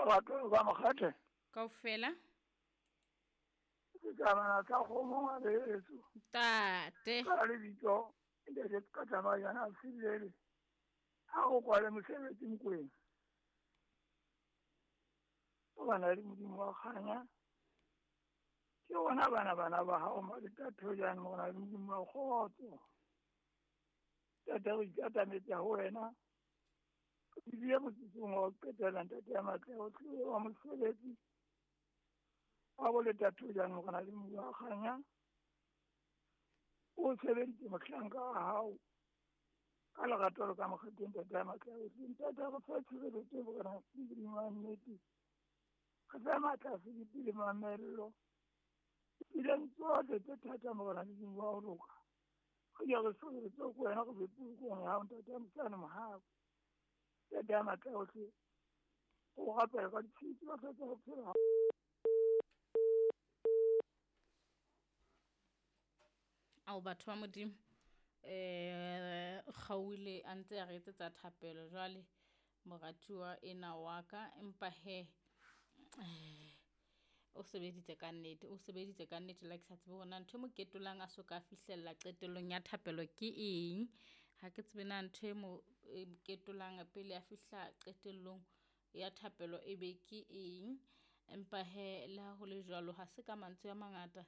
Lerato ka mokgathe. Kaofela. Setjhabana sa kgomo ngwaneso. Ntate. Ka lebitso ntate ka tsamayana silele. Ha o kwale mosebetsi Mokwena. O bana le Modimo wa kganya. Ke rona bana bana ba hao Maletathojane morena le Modimo wa kgotso. Ntate re ikatametse ho wena. Re bile motsotsong wa ho qetela ntate ya matla ohle wa mosebetsi. Wa bo Letathojane morena le Modimo wa kganya. O sebeditse mohlanka wa hao ka lerato le ka mokgetheng ntate ya matla ohle. Ntate re fe tshireletso morena le Modimo wa nnete. Re fe matla a sebete le mamello. Tseleng tsohle tse thata morena le Modimo wa ho loka. Re ke re sireletse ko wena re be polokong ya hao ntate ya mosane mohau. Ntate ya matla ohle. O rapela ka ditshitsi ba tsa ho phela. Ao batho ba Modimo kgaohile a ntse a re etsetsa thapelo jwale moratuwa ena wa ka empa he o sebeditse ka nnete, o sebeditse ka nnete le ha ke sa tsebe hore na ntho e mo ketolang a so ka fihlella qetellong ya thapelo ke eng. Ha ke tsebe na ntho e mo ketolang pele a fihla qetellong ya thapelo e be ke eng. Empa he le ha ho le jwalo, ha se ka mantswe a mangata.